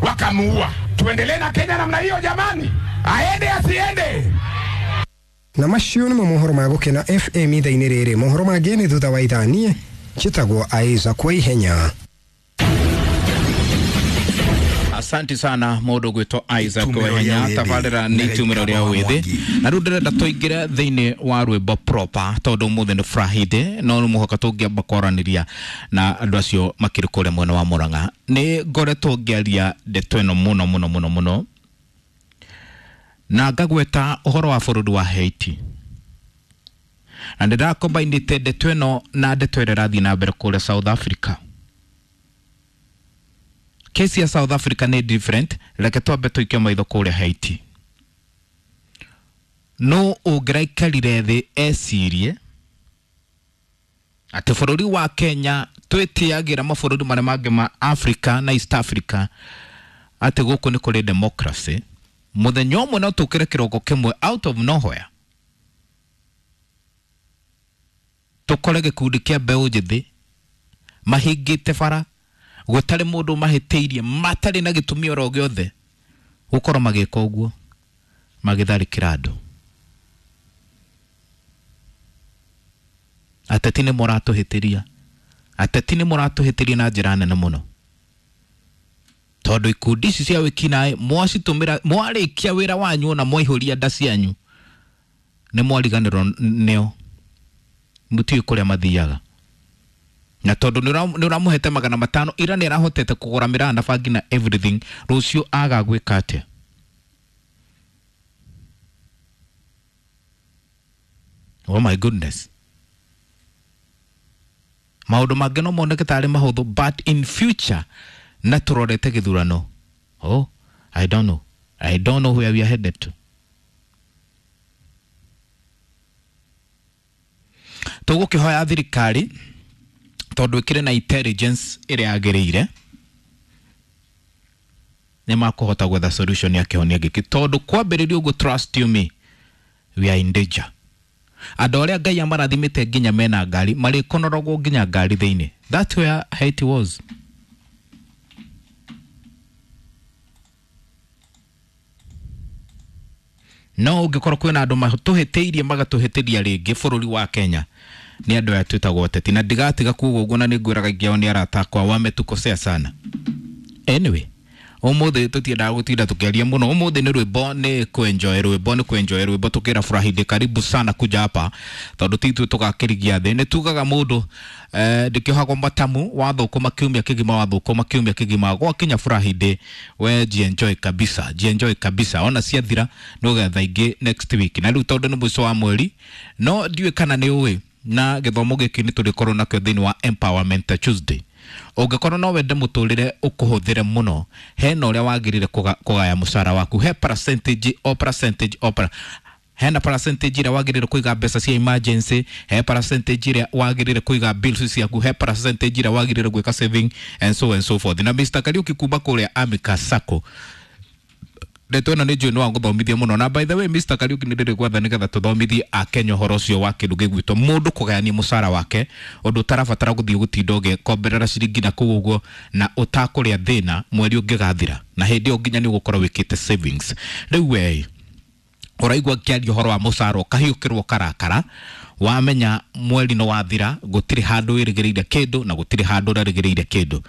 Wakamuua. Tuendelee na Kenya namna hiyo jamani? Aende asiende? Na macio nĩmo mohoro ma Gũkena FM ithaa-inĩ rĩrĩ. Mohoro mangĩ nĩ thutha wa ithaa. Niĩ njĩtagwo Isaac wa Ihenya. Asante sana mundu gwitwo Isaac Itumĩro Wehenya. rĩa wĩthĩ Tabarĩra nĩ na itumĩro rĩa gĩikaro wa wĩthĩ. Mwangi. Na rĩu ndĩrenda tũingĩre thĩinĩ wa rwĩmbo proper tondũ ũmũthĩ nĩ Friday, no nĩ mũhaka tũngĩamba kwaranĩria na andũ acio makĩrĩ kũrĩa mwena wa Murang'a. Nĩ ngoretwo ngĩaria ndeto ĩno mũno mũno mũno mũno na ngagweta ũhoro wa bũrũri wa Haiti, na ndĩrakombainĩte ndeto ĩno na ndeto ĩrĩa ĩrathiĩ na mbere kũrĩa South Africa. Kesi ya South Africa nĩ different. Reke twambe tũikie maitho kũrĩa Haiti. No ũngĩraikarire thĩ ecirie atĩ bũrũri wa Kenya twĩtĩagĩra mabũrũri marĩa mangĩ ma Africa na East Africa atĩ gũkũ nĩ kũrĩ democracy, mũthenya ũmwe no tũkĩre kĩroko kĩmwe out of nowhere tũkore gĩkundi kĩa mbeũ njĩthĩ mahingĩte bara gũtarĩ mũndũ mahĩtĩirie, matarĩ na gĩtũmi oro gĩothe gũkorwo magĩka ũguo, magĩtharĩkĩra andũ. Ateti nĩ mũratũhĩtĩria, ateti nĩ mũratũhĩtĩria na njĩra nene mũno, tondũ ikundi ici cia wĩkinaĩ mwacitũmĩra mwarĩkia wĩra wanyu ona mwaihũria nda cianyu nĩ mwariganĩrwo nĩo, mũtiũĩ kũrĩa mathiaga. Na tondũ nĩ ũramũhete 500 ira nĩ arahotete kũgũra mĩraa na bangi na everything, rũciũ aga gwĩka atĩa? Oh my goodness, maũndũ mangĩ no moneke tarĩ mahũthũ, but in future na tũrorete gĩthurano, oh, I don't know, I don't know where we are headed to. Tũgũkĩhoya thirikari tondũ ĩkĩrĩ na intelligence ĩrĩa yagĩrĩire nĩ makũhota gwetha solution ya kĩhonia gĩkĩ, tondũ kwambĩrĩria ũguo, trust you me, we are in danger. Andũ arĩa Ngai amarathimĩte nginya mena ngari marĩkonoragwo nginya ngari thĩinĩ. That's where Haiti was. No ũngĩkorwo kwĩna andũ matũhĩtĩirie magatũhĩtĩria rĩngĩ bũrũri wa Kenya nĩ andũ aya twĩtagwo ateti, na ndigatiga kuga ũguo na nĩngwĩraga aingĩ ao nĩ arata akwa, wametukosea sana. Anyway, ũmũthĩ tũtiendaga gũtinda tũkĩaria mũno. Ũmũthĩ nĩ rwĩmbo, nĩ kwenjoy rwĩmbo, nĩ kwenjoy rwĩmbo tũkĩra Friday karibu sana kuja hapa, tondũ ti ithuĩ tũgakĩrigia thĩ. Nĩ tugaga mũndũ ndĩkĩohagwo matamu, wathũkũma kiumia kĩgima, wathũkũma kiumia kĩgima, gwakinya Friday we jienjoy kabisa, jienjoy kabisa. Ona ciathira nĩ ũgetha ingĩ next week. Na rĩu tondũ nĩ mũico wa mweri, no ndiũĩ kana nĩ ũĩ na gĩthomo gĩkĩ nĩ tũrĩkorwo nakĩo thĩinĩ wa Empowerment Tuesday. Ũngĩkorwo no wende mũtũrĩre ũkũhũthĩre mũno, hena ũrĩa wagĩrĩire kũgaya mũcara waku, he percentage o percentage o hena percentage ĩrĩa wagĩrĩire kũiga mbeca cia emergency, he percentage ĩrĩa wagĩrĩire kũiga bills ciaku, he percentage ĩrĩa wagĩrĩire gwĩka saving and so and so forth. Na Mr. Kariuki kuma kũrĩa Amika Sacco, ndeto ĩno nĩ njũĩ nĩ wagũthomithia mũno. Na by the way, Mr. Kariuki, nĩ ndĩrĩ gwatha nĩgetha tũthomithie akenya ũhoro ũcio wa kĩndũ gĩgwĩtwo mũndũ kũgayania mũcara wake, ũndũ ũtarabatara gũthiĩ gũtinda ũgĩkomberera ciringi na kũu ũguo na ũtakũrĩa thĩna mweri ũngĩgathira, na hĩndĩ ĩyo nginya nĩ ũgũkorwo wĩkĩte savings. Rĩu we ũraigua ngĩaria ũhoro wa mũcara ũkahiũkĩrwo karakara, wamenya mweri nĩ wathira, gũtirĩ handũ wĩrĩgĩrĩire kĩndũ na gũtirĩ handũ ũrerĩgĩrĩire kĩndũ.